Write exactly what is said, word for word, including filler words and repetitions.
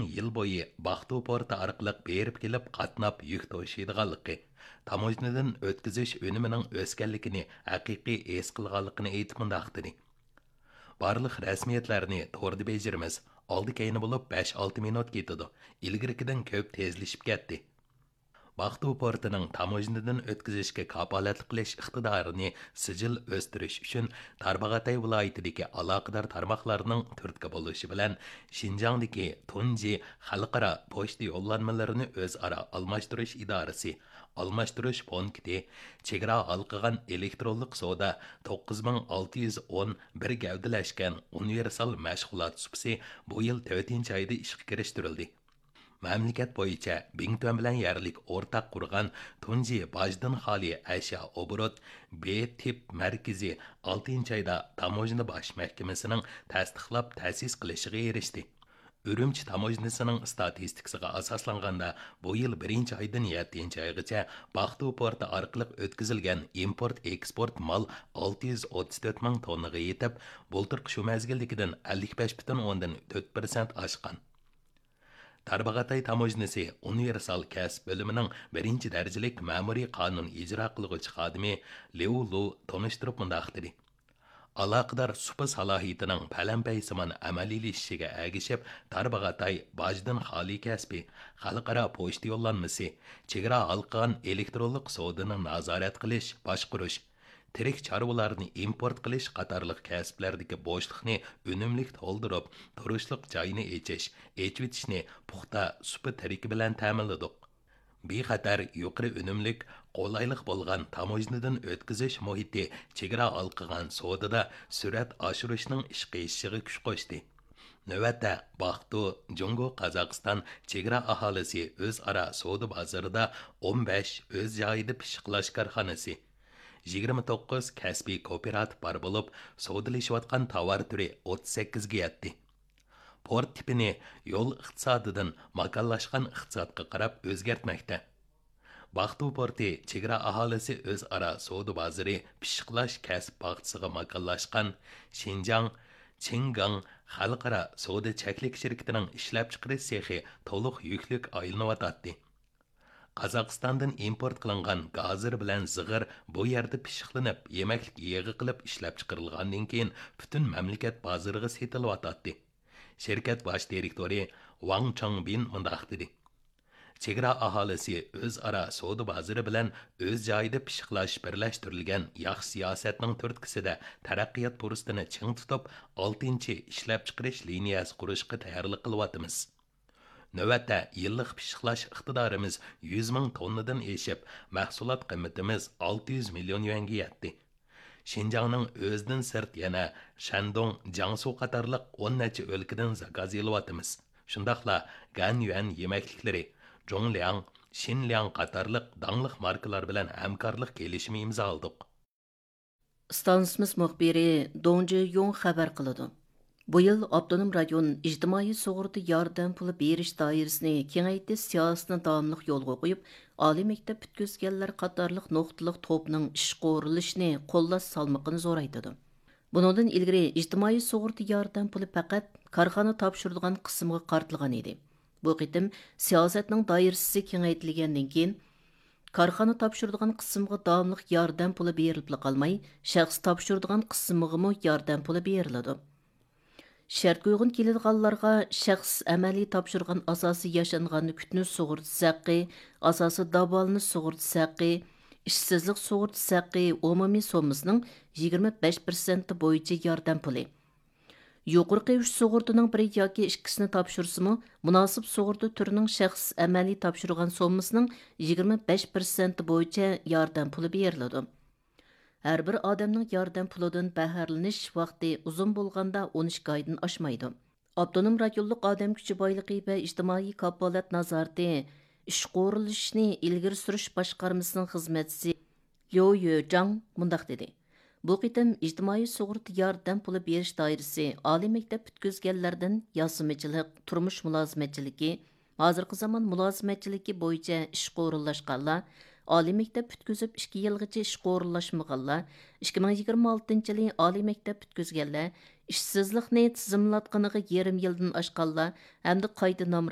يىل بويى باقتۇ پورتى ئارقىلىق بېرىپ كېلىپ قاتناپ يۈك توشۇيدىغانلىقى، تاموژنىدىن ئۆتكۈزۈش ئۈنۈمىنىڭ ئۆسكەنلىكىنى ھەقىقىي ھېس قىلغانلىقىنى ئېيتىپ مۇنداق دېدى: بارلىق رەسمىيەتلەرنى توردا بېجىرىمىز. ئالدى كەينى بولۇپ بەش ئالتە مىنۇت كېتىدۇ. ئىلگىرىكىدىن كۆپ تېزلىشىپ كەتتى. باقتۇ پورتىنىڭ تاموژنىدىن ئۆتكۈزۈشكە كاپالەتلىك قىلىش ئىقتىدارىنى سىجىل ئۆستۈرۈش ئۈچۈن، تارباغاتاي ۋىلايىتىدىكى ئالاقىدار تارماقلارنىڭ تۈرتكە بولۇشى بىلەن، شىنجاڭدىكى تۇنجى خەلقئارا پوچتا يوللانمىلىرىنى ئۆزئارا ئالماشتۇرۇش ئىدارىسى، ئالماشتۇرۇش پونكىتى، چېگرا ھالقىغان ئېلېكترونلۇق سودا توققۇز مىڭ ئالتە يۈز ئون بىر گەۋدىلەشكەن ئۇنىۋېرسال مەشغۇلات سۇپىسى بۇ يىل تۆتىنچى ئايدا ئىشقا كىرىشتۈرۈلدى. مەملىكەت بويىچە بىڭتۈەن بىلەن يەرلىك ئورتاق قۇرغان تۇنجى باجدىن خالىي ئەشيا ئوبوروت ب تىپ مەركىزى ئالتىنچى ئايدا تاموژنا باش مەھكىمىسىنىڭ تەستىقلاپ تەسىس قىلىشىغا ئېرىشتى. ئۈرۈمچى تاموژنىسىنىڭ ئىستاتىستىكىسىغا ئاساسلانغاندا، بۇ يىل بىرىنچى ئايدىن يەتتىنچى ئايغىچە باقتۇ پورتى ئارقىلىق ئۆتكۈزۈلگەن ئىمپورت ئېكسپورت مال ئالتە يۈز ئوتتۇز تۆت مىڭ توننىغا يېتىپ، بۇلتۇرقى شۇ مەزگىلدىكىدىن ئەللىك بەش پۈتۈن ئوندىن تۆت پىرسەنت ئاشقان. تارباغاتاي تاموژنىسى ئۇنىۋېرسال كەسىپ بۆلۈمىنىڭ بىرىنچى دەرىجىلىك مەمۇرىي قانۇن ئىجرا قىلغۇچى خادىمى ليۇ لۇ تونۇشتۇرۇپ مۇنداق دېدى: ئالاقىدار سۇپا سالاھىيىتىنىڭ پەلەمپەيسىمان ئەمەلىيلىشىشىگە ئەگىشىپ، تارباغاتاي باجدىن خالىي كەسپى، خەلقئارا پوچتا يوللانمىسى، چېگرا ھالقىغان ئېلېكترونلۇق سودىنى نازارەت قىلىش، باشقۇرۇش، تىرىك چارۋىلارنى ئىمپورت قىلىش قاتارلىق كەسىپلەردىكى بوشلۇقنى ئۈنۈملۈك تولدۇرۇپ، تۇرۇشلۇق جاينى ئېچىش، ئېچىۋېتىشنى پۇختا سۇپا تىرىكى بىلەن تەمىنلىدۇق. بىخەتەر، يۇقىرى ئۈنۈملۈك، قولايلىق بولغان تاموژنىدىن ئۆتكۈزۈش مۇھىتى چېگرا ھالقىغان سودىدا سۈرئەت ئاشۇرۇشنىڭ ئىشقا ئېشىشىغا كۈچ قوشتى. نۆۋەتتە، باقتۇ جۇڭگو قازاقىستان چېگرا ئاھالىسى ئۆزئارا سودا بازىرىدا ئون بەش ئۆز جايىدا پىششىقلاش كارخانىسى، يىگىرمە توققۇز كەسپىي كوپىراتىپ بار بولۇپ، سودىلىشىۋاتقان تاۋار تۈرى ئوتتۇز سەككىزگە يەتتى. پورت تىپىنى يول ئىقتىسادىدىن ماكانلاشقان ئىقتىسادقا قاراپ ئۆزگەرتمەكتە. باقتۇ پورتى چېگرا ئاھالىسى ئۆزئارا سودا بازىرى پىششىقلاش كەسىپ باغچىسىغا ماكانلاشقان شىنجاڭ چىڭگاڭ خەلقئارا سودا چەكلىك شىركىتىنىڭ ئىشلەپچىقىرىش سېخى تولۇق يۈكلۈك ئايلىنىۋاتاتتى. قازاقىستاندىن ئىمپورت قىلىنغان گازىر بىلەن زىغىر بۇ يەردە پىششىقلىنىپ، يېمەكلىك يېغى قىلىپ ئىشلەپچىقىرىلغاندىن كېيىن، پۈتۈن مەملىكەت بازىرىغا سېتىلىۋاتاتتى. شىركەت باش دىرېكتورى ۋاڭ چاڭبىن مۇنداق دېدى: چېگرا ئاھالىسى ئۆزئارا سودا بازىرى بىلەن ئۆز جايىدا پىششىقلاش بىرلەشتۈرۈلگەن ياخشى سىياسەتنىڭ تۈرتكىسىدە تەرەققىيات پۇرسىتىنى چىڭ تۇتۇپ، ئالتىنچى ئىشلەپچىقىرىش لىنىيەسى قۇرۇشقا تەييارلىق قىلىۋاتىمىز. نۆۋەتتە يىللىق پىششىقلاش ئىقتىدارىمىز يۈز مىڭ توننىدىن ئېشىپ، مەھسۇلات قىممىتىمىز ئالتە يۈز مىليون يۈەنگە يەتتى. شىنجاڭنىڭ ئۆزىدىن سىرت يەنە شەندۇڭ، جياڭسۇ قاتارلىق ئون نەچچە ئۆلكىدىن زاكاز ئېلىۋاتىمىز. شۇنداقلا گەنيۈەن يېمەكلىكلىرى، جۇڭلياڭ، شىنلياڭ قاتارلىق داڭلىق ماركىلار بىلەن ھەمكارلىق كېلىشىمى ئىمزالىدۇق. ئىستانسىمىز مۇخبىرى دۇڭ جىيۇڭ خەۋەر قىلىدۇ. بۇ يىل ئاپتونوم رايون ئىجتىمائىي سۇغۇرتا ياردەم پۇلى بېرىش دائىرىسىنى كېڭەيتىش سىياسىتىنى داۋاملىق يولغا قويۇپ، ئالىي مەكتەپ پۈتكۈزگەنلەر قاتارلىق نۇقتىلىق توپنىڭ ئىشقا ئورۇنلىشىشىنى قوللاش سالمىقىنى زورايتىدۇ. بۇنىڭدىن ئىلگىرى ئىجتىمائىي سۇغۇرتا ياردەم پۇلى پەقەت كارخانا تاپشۇرىدىغان قىسىمغا قارىتىلغان ئىدى. بۇ قېتىم سىياسەتنىڭ دائىرىسى كېڭەيتىلگەندىن كېيىن، كارخانا تاپشۇرىدىغان قىسىمغا داۋاملىق ياردەم پۇلى بېرىلىپلا قالماي، شەخس تاپشۇرىدىغان قىسىمغىمۇ ياردەم پۇلى بېرىلىدۇ. شەرتكە ئۇيغۇن كېلىدىغانلارغا شەخس ئەمەلىي تاپشۇرغان ئاساسىي ياشانغان كۈتۈنۈش سۇغۇرتىسى ھەققى، ئاساسىي داۋالىنىش سۇغۇرتىسى ھەققى، ئىشسىزلىق سۇغۇرتىسى ھەققى ئومۇمىي سوممىسىنىڭ يىگىرمە بەش پىرسەنتى بويىچە ياردەم پۇلى، يۇقىرىقى ئۈچ سۇغۇرتىنىڭ بىرى ياكى ئىككىسىنى تاپشۇرسىمۇ، مۇناسىپ سۇغۇرتا تۈرىنىڭ شەخس ئەمەلىي تاپشۇرغان سوممىسىنىڭ يىگىرمە بەش پىرسەنتى بويىچە ياردەم پۇلى بېرىلىدۇ. ھەر بىر ئادەمنىڭ ياردەم پۇلىدىن بەھرىلىنىش ۋاقتى ئۇزۇن بولغاندا ئون ئىككى ئايدىن ئاشمايدۇ. ئاپتونوم رايونلۇق ئادەم كۈچى بايلىقى ۋە ئىجتىمائىي كاپالەت نازارىتى ئىشقا ئورۇنلىشىشنى ئىلگىرى سۈرۈش باشقارمىسىنىڭ خىزمەتچىسى ليۇ يۆجاڭ مۇنداق دېدى: بۇ قېتىم ئىجتىمائىي سۇغۇرتا ياردەم پۇلى بېرىش دائىرىسى ئالىي مەكتەپ پۈتكۈزگەنلەردىن ياسىمىچىلىق، تۇرمۇش مۇلازىمەتچىلىكى، ھازىرقى زامان مۇلازىمەتچىلىكى بويىچە ئىشقا ئورۇنلاشقانلار، ئالىي مەكتەپ پۈتكۈزۈپ ئىككى يىلغىچە ئىشقا ئورۇنلاشمىغانلار، ئىككى مىڭ يىگىرمە ئالتىنچى يىلى ئالىي مەكتەپ پۈتكۈزگەنلەر، ئىشسىزلىقنى تىزىملاتقىنىغا يېرىم يىلدىن ئاشقانلار ھەمدە قايتا نام